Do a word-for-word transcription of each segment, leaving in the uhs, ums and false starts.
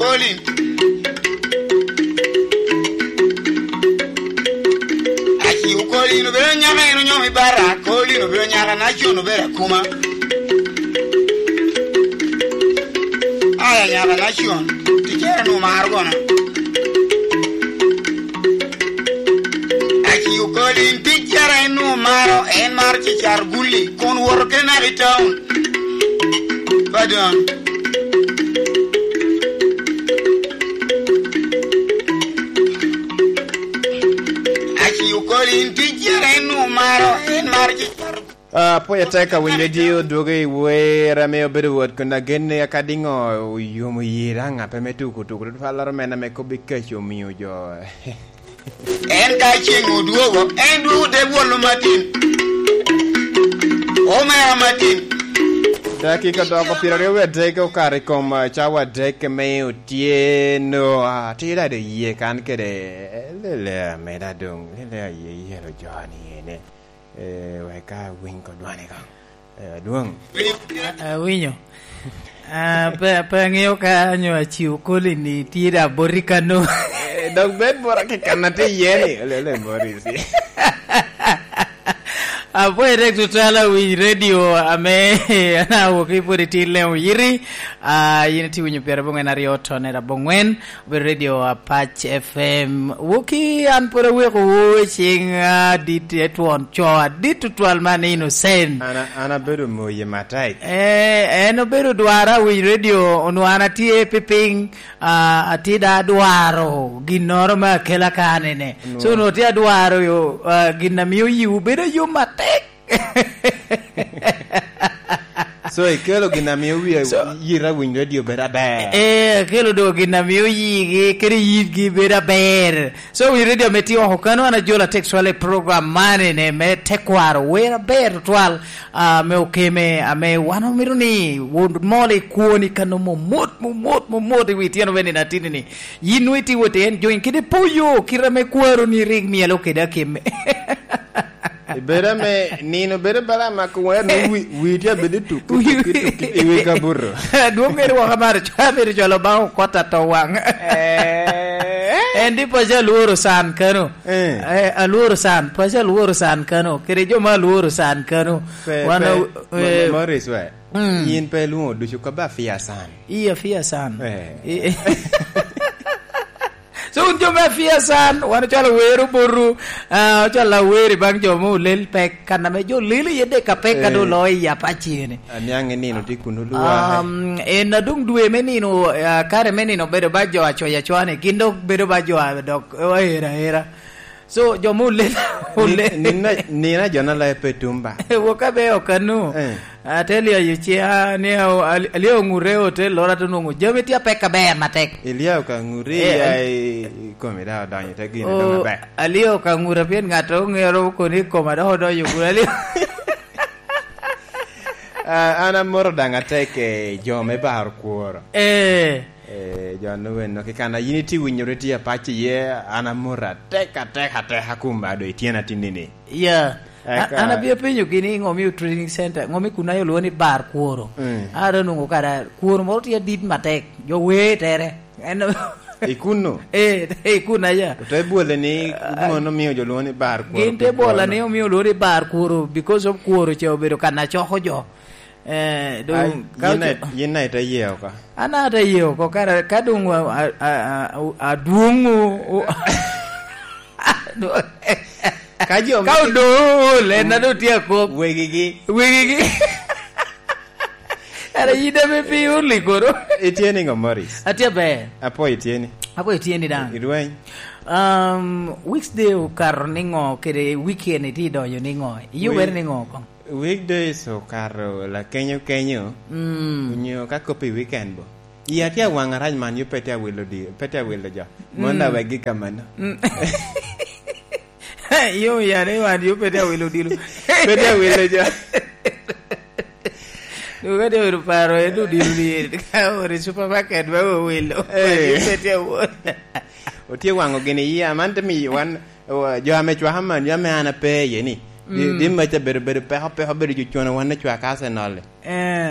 Colin. Aci Colin obedo nyaka en onyomo i bara. Colin obedo nyaka na con obedo akuma. Aya nyaka na con. Ticere nu maro gona. Aci Colin ticere en nu maro, en maro cicar gulli. Kun woto kena i town. Pardon. Aci Colin ticere en nu maro, en maro cicar. Ah, pwony atek ka winy radio dwogo i wer ame obedo wot kun agenne aka diŋo oyomo yera ŋape me tuko tuko tutwal laro men ame kobbi kaco omiyo jo. En ka ceŋ odwogo, en dwogo te bwolo matin. Omera matin. Dakika doko pyeraryo wie adek okato i kom, ah, cawa adek me otyeno. Ah, tye dado iye kan kede, eh, lele ameda doŋ, lele aye yelo joni ene. Eh, wek ka winy kodwane koŋ. Eh, adwoŋ. A-, awinyo. Ah, pe, pe aŋeo ka nyo aci Colin ni tye da boti kano. Eh, dok bed bora ki kan atye iye ni. Ole, ole, Morris. Apwoyo tek tutwal awiny radio ame an awoki pwod itye lemo yiti. Ah, yin itye winyo pyerabongwen aryo tone rabongwen. Obedo Radio Apac F M. Woki an pwod aweko wo i ciŋ adit, etwon co adit tutwal man Innocent. An a-, an abedo moye matek. Eh, en obedo dwara awiny radio, onwo an atye pi piny, ah, atye da adwaro ginnoro me akela kanene. Nwo. So, onwo tye adwaro yo, ah, gin a mio yiwu bedo yom matek. So, ikelo gin a mio wie So yita winy radio bedo aber. Eh, akelo do gin a mio yigi kede yitgi bedo aber. So, winy radio me tye oko kano an ajola text wala i program man ene me tekwaro wer aber tutwal, ah, me okeme ame wan omito ni won mol i kwoni kano momot, momot, momot i wi tyeno me nino atini ni. Yin nwo iti wot en join kede poyo kite ame kwaro ni rik mielo kede akeme. Ibedo ame nino bedo bala amako wer ni wi-, wi tye abedo i tuk, i tuk, i tuk, i wi kabuto. Adwoŋ ŋeri waka maro co-, abedo cwalo baŋ okot ato waŋ. Eh. En di paco alworo san kano. Eh. Eh, alworo san, paco alworo san kano. Kede jo ma alworo san kano. Pe, Wan pe, a-, Mo-, eh, Morris we. Mm. In pe ilwoŋo ducu kobbe afia san. Iya, afia san. Eh. I-, So, wun jo me afia san, wan ocwalo wer obotu, ah, ocwalo awer i baŋ jo me olel pek, kan ame jo lelo iye dek apek ka Eh. doŋ oloo i Apac ene. Aniaŋ i nino tye kun olwa. Um, en adoŋ dwe me nino, ah, kare me nino obedo ba jo acoya acwani, gin dok bedo ba jo a dok, eh, aera aera. So, jo me olel, Ni-, olel. nina, nina jo na lae pe tumba. Woka be okanu. Eh. Ate lyayo ciya ni a-, al-, alyayo ŋute i otel loro ate nwoŋo jami tye apek aber matek. Ilyayo ka ŋuti Eh, iya i, i komi da odonyo te gine o, doŋ aber. Alyayo ka ŋuta pien ŋat oŋero koni i koma dok odonyo ŋuta alyayo. Ah, an amoto daŋ atek, eh, jo me baro kworo. Eh. Eh, jo noweno kikana, yin itye winyo ri tye apac iye, an amoto atek, atek, atek, akumba do i tyena tinni ni. Yeah. Eka A-, an abia penyo gini, ŋo miyo trading center, ŋo mi kun ayo lwongo ni bar kworo? Mm. Ara nungo kara kworo moro tye adit matek, jo wee tere. En I kunno? Eh, i kun aya. Ote bwole ni Ah, mono omio jo lwongo ni bar kworo gin te pi bwola kworo. Ni omio lwongo ni bar kworo because of kworo ce obedo kan acoko jo. Eh, do Ai, ka yin oco-, na-, yin na ite ye oko? An ate ye oko, kara, ka dong a, a, a, a, adwong o, o, Ka jo ka me odo, len na do tye akop. Wegigi. Wegigi. Ara yin ame pi uli kono. Itye niŋo, Morris? Atye ber. Apo itye ni? Apo itye ni daŋ. Irweny? Um, weekday okato niŋo kede weekend itye idonyo niŋo? Iyo Wi-, wer niŋo koŋ? Weekdays okato lakenyo kenyo, Mm. onyo ka kop i weekend bo. Iya tye awaŋ arac man, yo pe tye awilo di-, pe tye awilo jo. Mm. Mon awek gi kamano. Mm. Yo ya ni wan yo pe tye awilo dilo. Pe tye awilo jo. Dong ka tye awilo paro en odilo ni ka ori supermarket ma owilo. Eh. Yo pe tye awilo. Otye waŋo gini iya, man te miyo wan, wa-, jo ame cwaka man, jo ame an ape iye ni. Di-, Mm. di maca bedo, bedo peko, peko, bedo jo cwano wan ne cwaka Arsenal. Eh.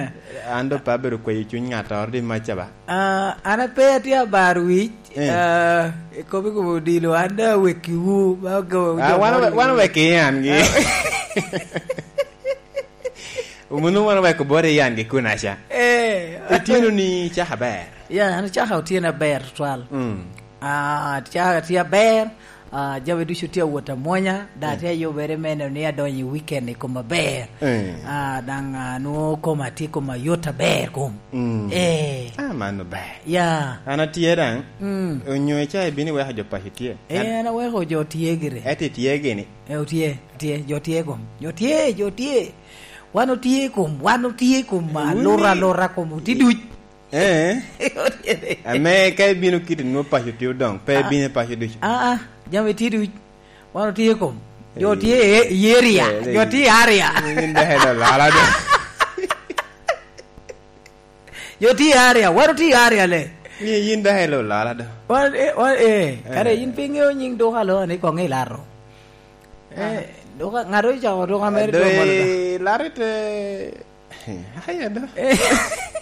An do pe abedo kweyo cuny ŋattoro di maca ba. Ah, an ape atye abar wic, Eh. ah, ikobi kobo odilo, an do awekkiwu, ba ogo-, Ah, jo wan, moro wan iwu. Owekki yan gi. Ah. Omunu wan oweko bot i yan gi kunaca. Eh. Itino ni caka ber. Ya, an caka otyena ber twal. Mm. Ah, caka tye aber, ah, jami ducu tye awot amwonya, da Mm. tye ayubere me neno ni adonyo i weekend i kom aber. Mm. Ah, daŋ, ah, nwoŋo koma tye koma yot aber kom. Mm. Eh. Ah, mano ber. Ya. An atye daŋ. Mm. Onyo ica ibino iweko jo paco tye? Eh, An an aweko jo tye gire. Ento itye gini? Eh, otye, tye, jo tye kom. Jo tye, jo tye. Wan otye kom, wan otye kom, ah, Wun lura, i- lura kom, otye duc. Eh. Otye. Ame ka ibino kit nwo paco tye odoŋ, pe Ah. ibino i paco ducu. Ah, ah, jami tye duc. Wan otye kom. Jo Eh. tye i, i area, Eh, jo eh. tye i area. Yin dok en olala do. Jo tye i area, wan otye i area le. Ni yin dok en olala do. Wan, eh, wan, eh, kare Eh. yin pe iŋeo nyiŋ duka lo ni koŋ ilaro. Eh, Ah. duka, ŋat ocako duka mere Ado dong malo da. Ilaro te, aya do. Eh.